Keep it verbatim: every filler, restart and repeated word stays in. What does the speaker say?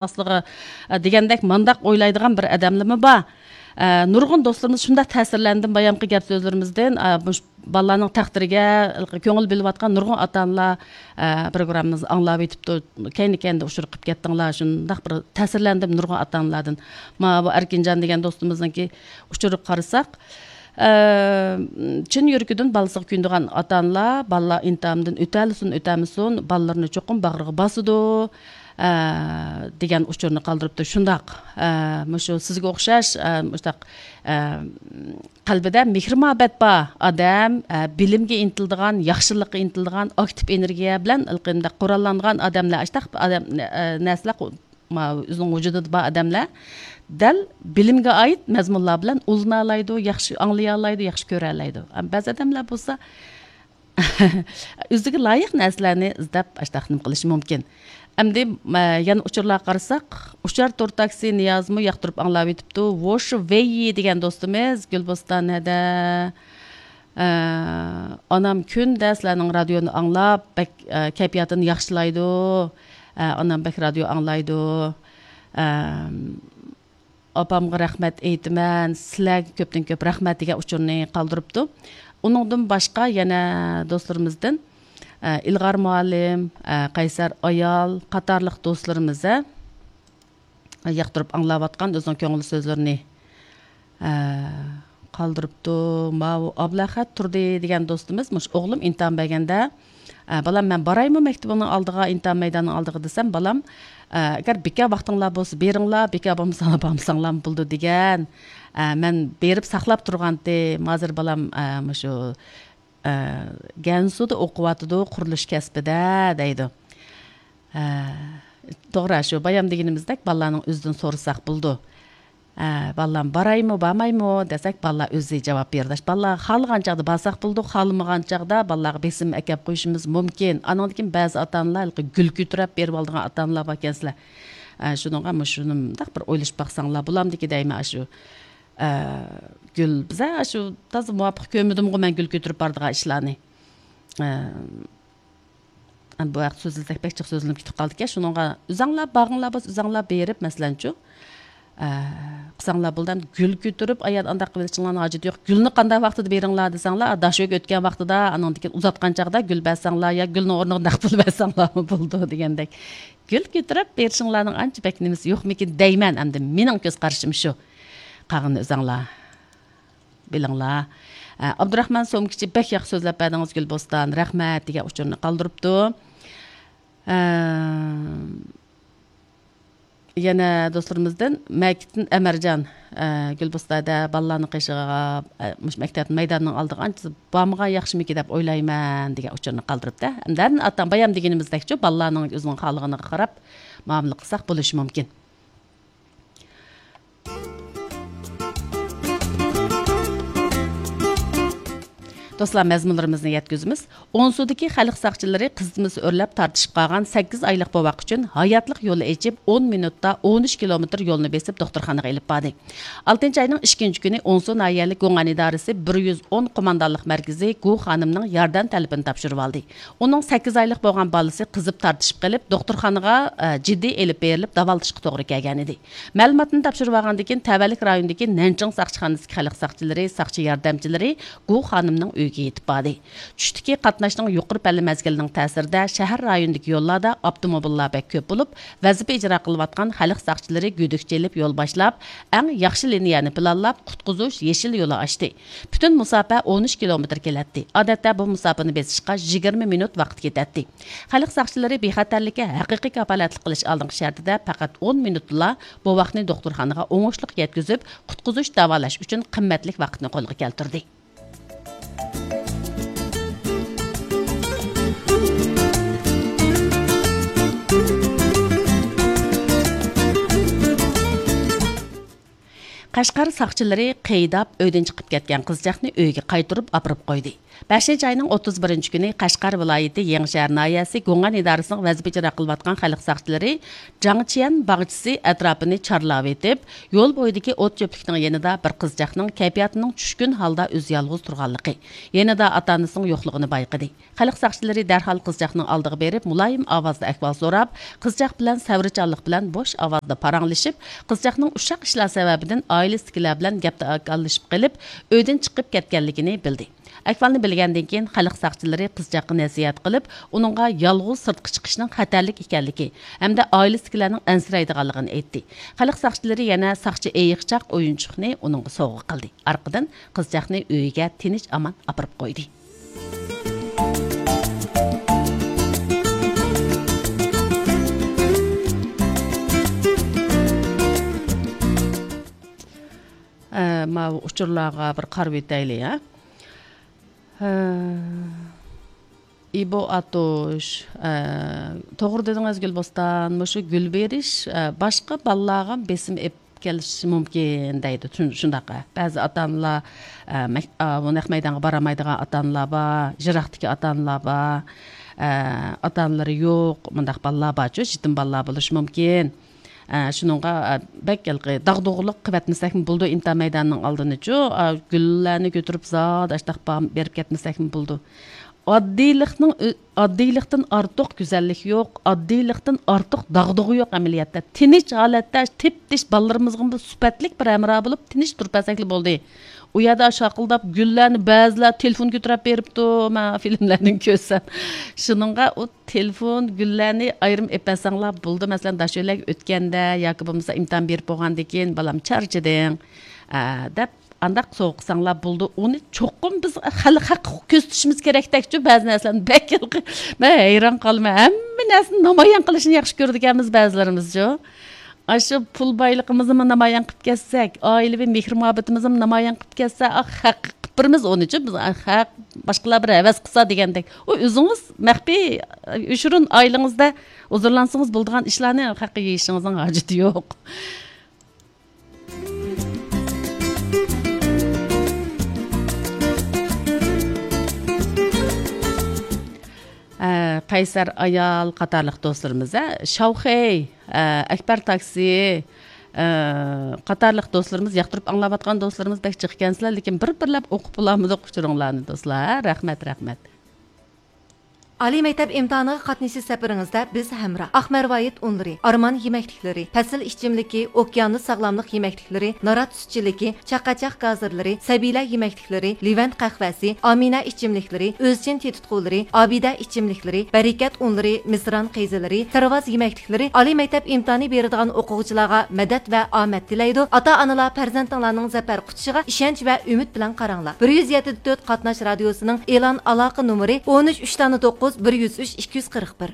ئاستىغا، ئە، دېگەندەك مانداق ئويلايدىغان بىر ئادەملىمۇ بار. ئە، نۇرغۇن دوستلىرىمىز شۇنداق تەسىرلەندىم بايامقى گەپ سۆزلىرىمىزدىن. ئە، مۇش-، بالىلارنىڭ تەقدىرىگە كۆڭۈل بۆلۈۋاتقان نۇرغۇن ئاتا-ئانىلار، ئە، پروگراممىمىزنى ئاڭلاپ ئېتىپتۇ. كەينى-كەينىدە ئۇچۇر قىلىپ كەتتىڭلار. شۇنداق بىر تەسىرلەندىم نۇرغۇن ئاتا-ئانىلاردىن. ماۋۇ ئەركىنجان دېگەن دوستىمىزنىڭكى ئۇچۇرىغا قارىساق، ئە، چىن يۈرىكىدىن بالىسىغا كۆيۈنىدىغان ئاتا-ئانىلار، بالىلار ئىمتىھاندىن ئۆتەلىسۇن، ئۆتەلمىسۇن، بالىلىرىنى چوقۇم باغرىغا باسىدۇ. ئە، دېگەن ئۇچۇرنى قالدۇرۇپتۇ. شۇنداق، ئە، مۇشۇ سىزگە ئوخشاش، ئە، مۇشۇنداق، ئە، قەلبىدە مېھىر-مۇھەببەت بار ئادەم، ئە، بىلىمگە ئىنتىلىدىغان، ياخشىلىققا ئىنتىلىدىغان، ئاكتىپ ئېنېرگىيە بىلەن ھېلىقى مۇنداق قوراللانغان ئادەملەر، ئاشتاق ئادەم، ئە، نەرسىلەر قو-، ما-، ئۆزىنىڭ ۋۇجۇدىدا بار ئادەملەر دەل بىلىمگە ئائىت مەزمۇنلار بىلەن ئۇلىنالايدۇ، ياخشى ئاڭلىيالايدۇ، ياخشى كۆرەلەيدۇ. ئەم، بەزى ئادەملەر بولسا ئۆزىگە لايىق نەرسىلەرنى ئىزدەپ، ئاشتاق نېمە قىلىشى مۇمكىن. ئەمدى، مە، يەنە ئۇچۇرلارغا قارىساق، ئۇچار تور تاكسى نىيازمۇ ياقتۇرۇپ ئاڭلاۋېتىپتۇ. ۋوش ۋېيي دېگەن دوستىمىز، گۈلبوستان ھەدە. ئە، ئانام كۈندە سىلەرنىڭ رادىيونى ئاڭلاپ، بەك، ئە، كەيپىياتىنى ياخشىلايدۇ. ئە، ئانام بەك رادىيو ئاڭلايدۇ. ئەم، ئاپامغا رەھمەت ئېيتىمەن، سىلەرگە كۆپتىن كۆپ رەھمەت دېگەن ئۇچۇرنى قالدۇرۇپتۇ. ئۇنىڭدىن باشقا يەنە دوستلىرىمىزدىن، ئە، ئىلغار مۇئەللىم، ئە، قەيسەر ئايال قاتارلىق دوستلىرىمىز، ئە، ياقتۇرۇپ ئاڭلاۋاتقان ئۆزىنىڭ كۆڭۈل سۆزلىرىنى، ئە، قالدۇرۇپتۇ. ماۋۇ ئابلەخەت تۇردى دېگەن دوستىمىز، مۇشۇ ئوغلۇم ئىمتىھان بەرگەندە، ئە، بالام، مەن بارايمۇ مەكتىپىڭنىڭ ئالدىغا، ئىمتىھان مەيدانىنىڭ ئالدىغا دېسەم، بالام، ئە، ئەگەر بىكار ۋاقتىڭلار بولسا بېرىڭلار، بىكار بولمىساڭلار بارمىساڭلارمۇ بولىدۇ دېگەن. ئە، مەن بېرىپ ساقلاپ تۇرغانتىم، ھازىر بالام، ئە، مۇشۇ، ئە، گەنسۇدا ئوقۇۋاتىدۇ، قۇرۇلۇش كەسپىدە دەيدۇ. ئە، توغرا، شۇ بايام دېگىنىمىزدەك بالىلارنىڭ ئۆزىدىن سورىساق بولىدۇ. ئە، بالىلارمۇ بارايمۇ، بارمايمۇ دېسەك، بالىلار ئۆزى جاۋاب بېرىدۇ. بالىلار خالىغان چاغدا بارساق بولىدۇ، خالىمىغان چاغدا بالىلارغا بېسىم ئەكەپ قويۇشىمىز مۇمكىن. ئانىڭدىن كېيىن بەزى ئاتا-ئانىلار ھېلىقى گۈل كۆتۈرۈپ بېرىۋالىدىغان ئاتا-ئانىلار باركەنسىلەر. ئە، شۇنىڭغا مۇشۇنى مۇنداق بىر ئويلىشىپ باقساڭلار بولامدىكى دەيمەن، ئاشۇ، ئە، گۈل، بىزە ئاشۇ تازا مۇۋاپىق كۆرمىدىمغۇ مەن گۈل كۆتۈرۈپ بارىدىغان ئىشلارنى. ئە، بۇ ھەقتە سۆزلىسەك بەك جىق سۆزلىنىپ كېتىپ قالدىكەن. شۇنىڭغا ئۆزەڭلار بارغىڭلار بولسا، ئۆزەڭلار بېرىپ، مەسىلەن، شۇ، ئە، قىلساڭلار بولىدۇ. ئەمدى گۈل كۆتۈرۈپ، ئايال ئانداق قىلىۋېلىشىڭلارنىڭ ھاجىتى يوق. گۈلنى قانداق ۋاقتىدا بېرىڭلار دېسەڭلار، داش ئۆگۈتكەن ۋاقتىدا، ئانىڭدىن كېيىن ئۇزاتقان چاغدا گۈل بەرسەڭلار يا گۈلنىڭ ئورنىغا نەق پۇل بەرسەڭلارمۇ بولىدۇ دېگەندەك. گۈل كۆتۈرۈپ بېرىشىڭلارنىڭ ئانچە بەك نېمىسى يوقمىكىن دەيمەن. ئەمدى مېنىڭ كۆز قارىشىم شۇ. قالغىنىنى ئۆزەڭلار بىلىڭلار. ئە، ئابدۇراخمان سومكىچى، بەك ياخشى سۆزلەپ بەردىڭىز، گۈلبوستان، رەھمەت، دېگەن ئۇچۇرنى قالدۇرۇپتۇ. ئە، يەنە دوستلىرىمىزدىن مەكىتتىن ئەمەرجان، ئە، گۈلبوستاندا بالىلارنىڭ قېشىغا، ئە، مۇشۇ مەكتەپ مەيدانىنىڭ ئالدىغا ئانچە بارمىغان ياخشىمىكىن دەپ ئويلايمەن، دېگەن ئۇچۇرنى قالدۇرۇپتۇ. ئەمدى ھەر ئاتا بايام دېگىنىمىزدەكچۇ، بالىلارنىڭ ئۆزىنىڭ خالىغىنىغا قاراپ مۇئامىلە قىلساق بولۇشى مۇمكىن. دوستلار، مەزمۇنلىرىمىزنى يەتكۈزىمىز. ئونسۇدىكى خەلق ساقچىلىرى قىزىتمىسى ئۆرلەپ تارتىشىپ قالغان سەككىز ئايلىق بوۋاق ئۈچۈن ھاياتلىق يولى ئېچىپ، ئون مىنۇتتا ئون ئۈچ كىلومېتىر يولنى بېسىپ دوختۇرخانىغا ئېلىپ باردى. ئالتىنچى ئاينىڭ ئىككىنچى كۈنى ئونسۇ ناھىيەلىك گۇڭئەن ئىدارىسى بىر يۈز ئون قوماندانلىق مەركىزى گۇ خانىمنىڭ ياردەم تەلىپىنى تاپشۇرۇۋالدى. ئۇنىڭ سەككىز ئايلىق بولغان بالىسى قىزىپ تارتىشىپ قېلىپ، دوختۇرخانىغا، ئە، جىددىي ئېلىپ بېرىلىپ داۋالىتىشقا توغرا كەلگەنىدى. مەلۇماتنى تاپشۇرۇۋالغاندىن كېيىن، تەۋەلىك رايونىدىكى نەنچىڭ ساقچىخانىسىدىكى خەلق ساقچىلىرى، ساقچى ياردەمچىلىرى گۇ خانىمنىڭ ئۆيىگە يېتىپ باردى. چۈشتىكى قاتناشنىڭ يۇقىرى پەللە مەزگىلىنىڭ تەسىرىدە، شەھەر رايونىدىكى يوللاردا ئاپتوموبىللار بەك كۆپ بولۇپ، ۋەزىپە ئىجرا قىلىۋاتقان خەلق ساقچىلىرى گۈدۈك چېلىپ يول باشلاپ، ئەڭ ياخشى لىنىيەنى پىلانلاپ، قۇتقۇزۇش يېشىل يولى ئاچتى. پۈتۈن مۇساپە ئون ئۈچ كىلومېتىر كېلەتتى. ئادەتتە بۇ مۇساپىنى بېسىشقا يىگىرمە مىنۇت ۋاقىت كېتەتتى. خەلق ساقچىلىرى بىخەتەرلىككە ھەقىقىي كاپالەتلىك قىلىش ئالدىنقى شەرتىدە پەقەت ئون مىنۇتلا بوۋاقنى دوختۇرخانىغا ئوڭۇشلۇق يەتكۈزۈپ، قۇتقۇزۇش، داۋالاش ئۈچۈن قىممەتلىك ۋاقىتنى قولغا كەلتۈردى. قەشقەر ساقچىلىرى قېيىداپ ئۆيدىن چىقىپ كەتكەن قىزچاقنى ئۆيىگە قايتۇرۇپ ئاپىرىپ قويدى. بەشىنچى ئاينىڭ ئوتتۇز بىرىنچى كۈنى قەشقەر ۋىلايىتى يېڭىشەھەر ناھىيەسى گۇڭئەن ئىدارىسىنىڭ ۋەزىپە ئىجرا قىلىۋاتقان خەلق ساقچىلىرى جاڭچيەن باغچىسى ئەتراپىنى چارلاۋېتىپ، يول بويىدىكى ئوت چۆپلۈكنىڭ يېنىدا بىر قىزچاقنىڭ كەيپىياتىنىڭ چۈشكۈن ھالدا ئۆزى يالغۇز تۇرغانلىقى، يېنىدا ئاتا-ئانىسىنىڭ يوقلۇقىنى بايقىدى. خەلق ساقچىلىرى دەرھال قىزچاقنىڭ ئالدىغا بېرىپ، مۇلايىم ئاۋازدا ئەھۋال سوراپ، قىزچاق بىلەن سەۋرچانلىق بىلەن بوش ئاۋازدا پاراڭلىشىپ، قىزچاقنىڭ ئۇششاق ئىشلار سەۋەبىدىن ئائىلىسىدىكىلەر بىلەن گەپتە ئاكاللىشىپ قېلىپ، ئۆيدىن چىقىپ كەتكەنلىكىنى بىلدى. ئەھۋالنى بىلگەندىن كېيىن، خەلق ساقچىلىرى قىزچاققا نەسىھەت قىلىپ، ئۇنىڭغا يالغۇز سىرتقا چىقىشنىڭ خەتەرلىك ئىكەنلىكى ھەمدە ئائىلىسىدىكىلەرنىڭ ئەنسىرەيدىغانلىقىنى ئېيتتى. خەلق ساقچىلىرى يەنە ساقچى ئېيىقچاق ئويۇنچۇقنى ئۇنىڭغا سوۋغا قىلدى. ئارقىدىن قىزچاقنى ئۆيىگە تىنچ-ئامان ئاپىرىپ قويدى. ئە، ماۋۇ ئۇچۇرلارغا بىر قارىۋېتەيلى، ھە؟ ھە. ئىبو ئاتۇش، ئە، توغرا دېدىڭىز، گۈلبوستان. مۇشۇ گۈل بېرىش، ئە، باشقا بالىلارغا بېسىم ئېلىپ كېلىشى مۇمكىن دەيدۇ. شۇن-، شۇنداق، ئە، بەزى ئاتا-ئانىلار، ئە، مەك-، ئا، بۇ نەق مەيدانغا بارالمايدىغان ئاتا-ئانىلار بار، يىراقتىكى ئاتا-ئانىلار بار، ئە، ئاتا-ئانىلىرى يوق، مۇنداق بالىلار بارچۇ، يېتىم بالىلار بولۇشى مۇمكىن. ئە، شۇنىڭغا، ئە، بەك ھېلىقى داغدۇغىلىق قىلىۋەتمىسەكمۇ بولىدۇ، ئىمتىھان مەيدانىنىڭ ئالدىنىچۇ، ئە، گۈللەرنى كۆتۈرۈپ زادى ئاشتاق با-، بېرىپ كەتمىسەكمۇ بولىدۇ. ئاددىيلىقنىڭ ئۆ-، ئاددىيلىقتىن ئارتۇق گۈزەللىك يوق، ئاددىيلىقتىن ئارتۇق داغدۇغا يوق ئەمەلىيەتتە. تىنچ ھالەتتە تىپتىش بالىلىرىمىزغىمۇ سۈپەتلىك بىر ھەمراھ بولۇپ، تىنچ تۇرۇپ بەرسەكلا بولدى. ئۇ يەردە شاقىلداپ گۈللەرنى بەزىلەر تېلېفون كۆتۈرۈپ بېرىپتۇ، مەن فىلىملەردىن كۆرسەم. شۇنىڭغا ئۇ تېلېفون، گۈللەرنى ئايرىم ئېلىپ بەرسەڭلار بولىدۇ. مەسىلەن، داشۆلەگە ئۆتكەندە ياكى بولمىسا ئىمتىھان بېرىپ بولغاندىن كېيىن، بالام چارچىدىڭ، ئە، دەپ ئانداق سوۋغا قىلساڭلار بولىدۇ. ئۇنى چوقۇم بىز خەلق ھەققى كۆرسىتىشىمىز كېرەكتەكچۇ، بەزى نەرسىلەرنى بەك ھېلىقى، مەن ھەيران قالىمەن. ھەممە نەرسىنى نامايان قىلىشنى ياخشى كۆرىدىكەنمىز بەزىلىرىمىزچۇ. ئاشۇ پۇل بايلىقىمىزنىمۇ نامايان قىلىپ كەتسەك، ئائىلىۋى مېھىر-مۇھەببىتىمىزنىمۇ نامايان قىلىپ كەتسە، ئاھ، خەق قىلىپ بېرىمىز ئۇنىچۇ، بىز، ئاھ، خەق باشقىلار بىر ھەۋەس قىلسا دېگەندەك. ئۇ ئۆزىڭىز مەخپىي، ئۆشۈرۈن ئائىلىڭىزدە ھۇزۇرلانسىڭىز بولىدىغان ئىشلارنى خەققە يېيىشىڭىزنىڭ ھاجىتى يوق. ئە، قەيسەر ئايال قاتارلىق دوستلىرىمىز، ئە، شاۋخەي، ئە، ئەكبەر تاكسى، ئە، قاتارلىق دوستلىرىمىز، ياقتۇرۇپ ئاڭلاۋاتقان دوستلىرىمىز بەك جىق ئىكەنسىلەر، لېكىن بىر-بىرلەپ ئوقۇپ بولالمىدۇق ئۇچۇرۇڭلارنى دوستلار. رەھمەت، رەھمەت. ئالىي مەكتەپ ئىمتىھانىغا قاتنىشىش سەپىرىڭىزدە بىز ھەمراھ. ئاق مەرۋايىت ئۇنلىرى، ئارمان يېمەكلىكلىرى، پەسىل ئىچىملىكى، ئوكيانۇس ساغلاملىق يېمەكلىكلىرى، نارات سۈتچىلىكى، چاقاچاق گازىرلىرى، سەبىيلەر يېمەكلىكلىرى، لېۋەنت قەھۋەسى، ئامىنە ئىچىملىكلىرى، ئۆزچىن تېتىتقۇلىرى، ئابىدە ئىچىملىكلىرى، بەرىكەت ئۇنلىرى، مىسران قەيزىلىرى، تىرۋاز يېمەكلىكلىرى ئالىي مەكتەپ ئىمتىھانى بېرىدىغان ئوقۇغۇچىلارغا مەدەت ۋە ئامەت تىلەيدۇ. ئاتا-ئانىلار پەرزەنتىڭلارنىڭ زەپەر قۇچىشىغا ئىشەنچ ۋە ئۈمىد بىلەن قاراڭلار. بىر يۈز يەتتە تۆت قاتناش رادىيوسىنىڭ ئېلان ئالاقە نومۇرى: ئون ئۈچ، ئۈچ دانە توققۇز، بىر يۈز ئۈچ، ئىككى يۈز قىرىق بىر.